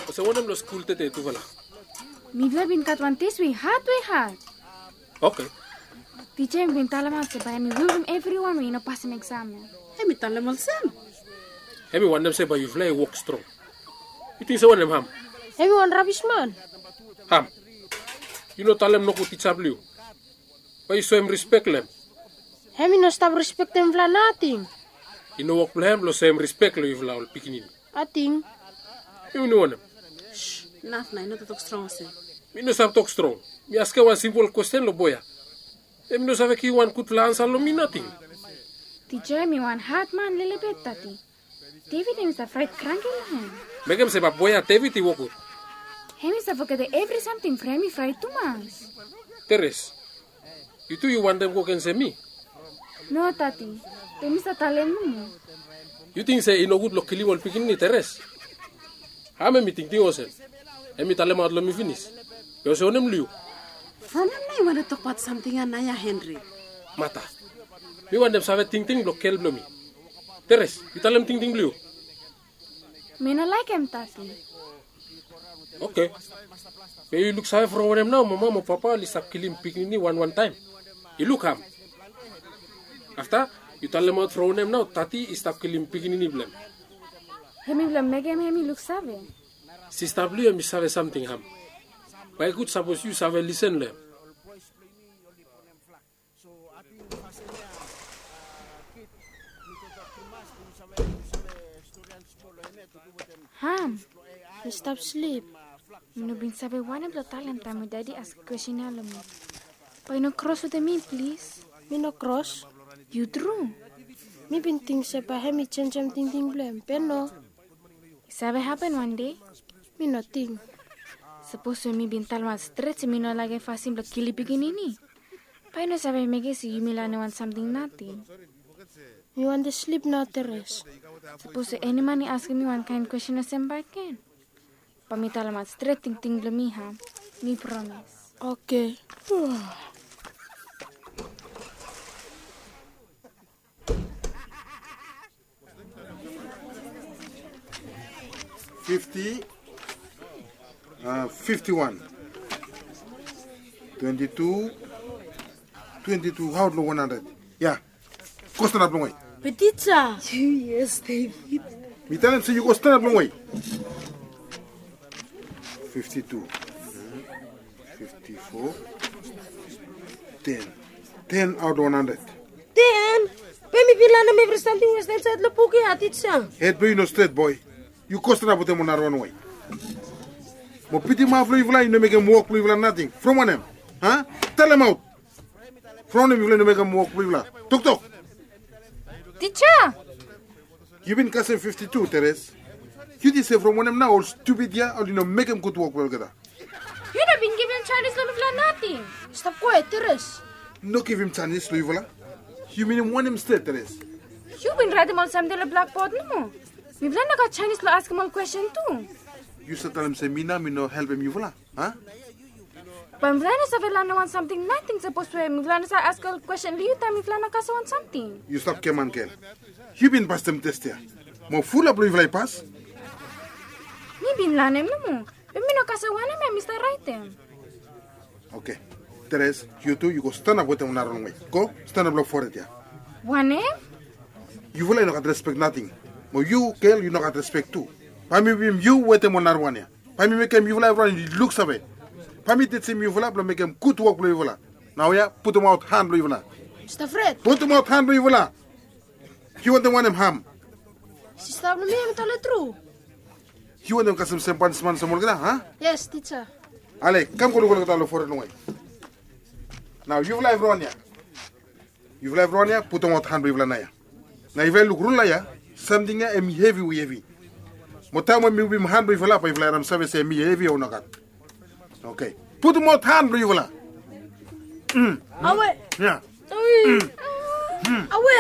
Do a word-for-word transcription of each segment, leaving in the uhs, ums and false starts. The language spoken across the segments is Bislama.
Olsem wanem long skul tede tufala? Mifala bin gat wan tes we i had we had. Oke. Tija i bin talemaot se bae hemi wibum evriwan we i no pasim eksam ya. Hemi talem olsem. Hemi wantem se bae yufala i wok strong. Yu ting se wanem, Ham? Hemi wan rabis man. Ham, yu no talem nogud tija blong yu. Bae yu soem rispek long hem. Hemi no stap rispektem mifala nating. I no wok blong hem blong soem rispek long yufala ol pikinini. Nating. Yu no wanem? Naf nao, yu no tok strong olsem. Mi no save tok strong. Mi askem wan simpol kwesten long boe ya. Hemi no save givim wan gudfala ansa long mi nating. Tija, hemi wan had man lelebet, Tati. David hemi save fraet kranki long hem. Mekem se bae boe ya David i wokgud. Hemi save fogetem evri samting from hemi fraet tumas. Teres, yu tu yu wantem go gensem mi? No, Tati. Be mi save talem nomo. Yu ting se i nogud blong kilim ol pikinini, Teres? Ham hemi tingting olsem? Hemi talemaot long mi finis. Be olsem wanem long yu? From hem nao yu wantem tokbaot samting ya nao ya, Henry? Mata, mi wantem save tingting blong gel blong mi. Teres, yu talem tingting blong yu. Mi no laekem, Tati. Oke. Be yu luksave from wanem nao mama mo papa oli stap kilim pikinini wanwan taem? Yu luk, Ham. Afta yu talemaot from wanem nao Tati i stap kilim pikinini blong hem. Hemi blong mekem hem i luksave. Sista blong yu hemi save samting, Ham. Bae i gud sapos yu save lisen long hem. Ham, mi stap slip. Mi no bin save wanem blong talem taem we Dadi askem kwesten ya long mi. Bae yu no kros wetem mi, plis. Mi no kros. Yu tru? Mi bin ting se bae hemi jenjem tingting blong hem, be no. I save hapen wan dei. Mi no ting. Sapos we mi bin talemaot stret se mi no laekem fasin blong kilim pikinini, bae i no save mekem se yumi lanem wan samting nating. Mi wantem slip nao, Teres. Sapos we eni man i askem mi wan kaen kwesten olsem bakegen, bae mi talemaot stret tingting blong mi, Ham. Mi promes. Oke. Fifti, a, fifti wan, twenti tu, twenti tu, hao long wan handred? Ya. Go stanap longwe. Be tija. Yes, David. Mi talem se yu go stanap longwe. Fifti tu, fifti fo, ten. Ten aot long wan handred. Ten? Be mi bin lanem evri samting we stap insaed long buk ya, tija. Hed blong yu i no stret, boe. Yu go stanap wetem ol narafala we. Mo bitim haf blong yufala i no mekem wok blong yufala nating. From wanem? A? Talemaot. From wanem yufala i no mekem wok blong yufala? Toktok. Tija. Yu bin kasem fifti tu, Teres. Yu ting se from wanem nao ol stupid ya oli no mekem gud wok blong olgeta? Yu no bin givim janis long mifala nating. Stap kwaet, Teres. No givim janis long yufala? Yu minim wanem stret, Teres? Yu bin raetem ol samting long blakbod nomo. Mifala no gat janis blong askem ol kwesten tu. Yu save talem se mi nao mi no helpem yufala, a? Be mifala no save lanem wan samting nating sapos we mifala no save askem ol kwesten long yu taem mifala no kasem wan samting. Yu stap giaman, gel. Yu bin pasem tes ya. Mo fulap long yufala i pas. Mi bin lanem nomo. Be mi no kasem wanem hemi stap raetem. Oke. Teres, yu tu yu go stanap wetem ol narafala we. Go stanap long fored ya. Wanem? Yufala i no gat respek nating. Mo yu, gel, yu no gat respek tu. Bae mi wibum yu wetem ol narafala ya. Bae mi mekem yufala evriwan i luksave. Bae mi tijim yufala blong mekem gud wok blong yufala. Naoia putumaot han blong yufala. Stap fret. Putumaot han blong yufala. Yu wantem wanem, Ham? Sista blong mi hemi talem tru. Yu wantem kasem sem panisman olsem olgeta, a? Yes, tija. Ale, kam go luk olgeta long fored longwe. Nao yufala evriwan ya. Yufala evriwan ya putumaot han blong yufala naoia. Nao yufala luk rula ya, samting ya hemi hevi we hevi. Mo taem we mi wibum han blong yufala bae yufala ran save se hemi hevi o nogat. Oke. Putumaot han blong yufala. Awe. Ya. Awe.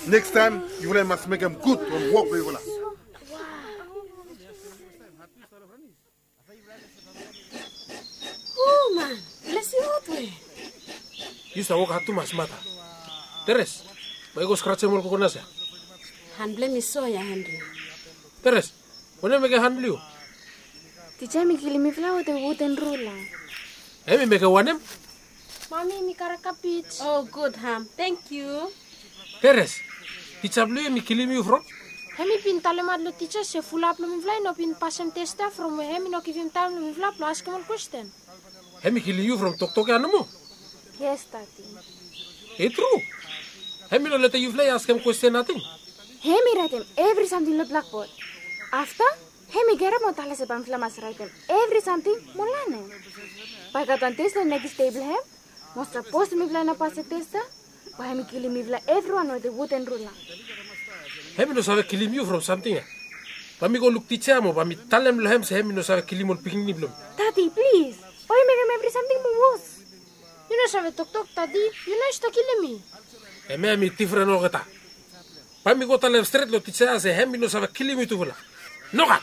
Nekis taem yufala i mas mekem gud ol wok blong yufala. O man, blesing aot we. Yu stap wok had tumas, Mata. Teres, bae yu go skrajem ol kokonas ya. Han blong mi so ya, Henry. Teres, wanem mekem han blong yu? Tija, hemi kilim mifala wetem wuden rula. Hemi mekem wanem? Mami, mi karem kabej. O, gud, Ham. Tangkiu. Teres, tija blong yu hemi kilim yu from? Hemi bin talemaot long tija se fulap blong mifala i no bin pasem tes ya from we hemi no givim taem long mifala blong askem ol kwesten. Hemi kilim yu from toktok ya nomo? Yes, Dadi. I tru. Hemi no letem yufala i askem kwesten nating. Hemi raetem evri samting long blakbod. Afta hemi gerap mo talem se bae mifala mas raetem evri samting mo lanem. Bae i gat wan tes long nekis dei blong hem. Mo sapos mifala i no pasem tes ya, bae hemi kilim mifala evriwan wetem wuden rula. Hemi no save kilim yu from samting ya. Bae mi go luk tija mo bae mi talem long hem se hemi no save kilim ol pikinini blong mi. Dadi, plis. Bae yu mekem evri samting moa wos. Yu no save toktok, Dadi. Yu no i stap kilim mi. Hem ya hemi difren olgeta. Bae mi go talem stret long tija ya se hemi no save kilim yutufala. Nogat.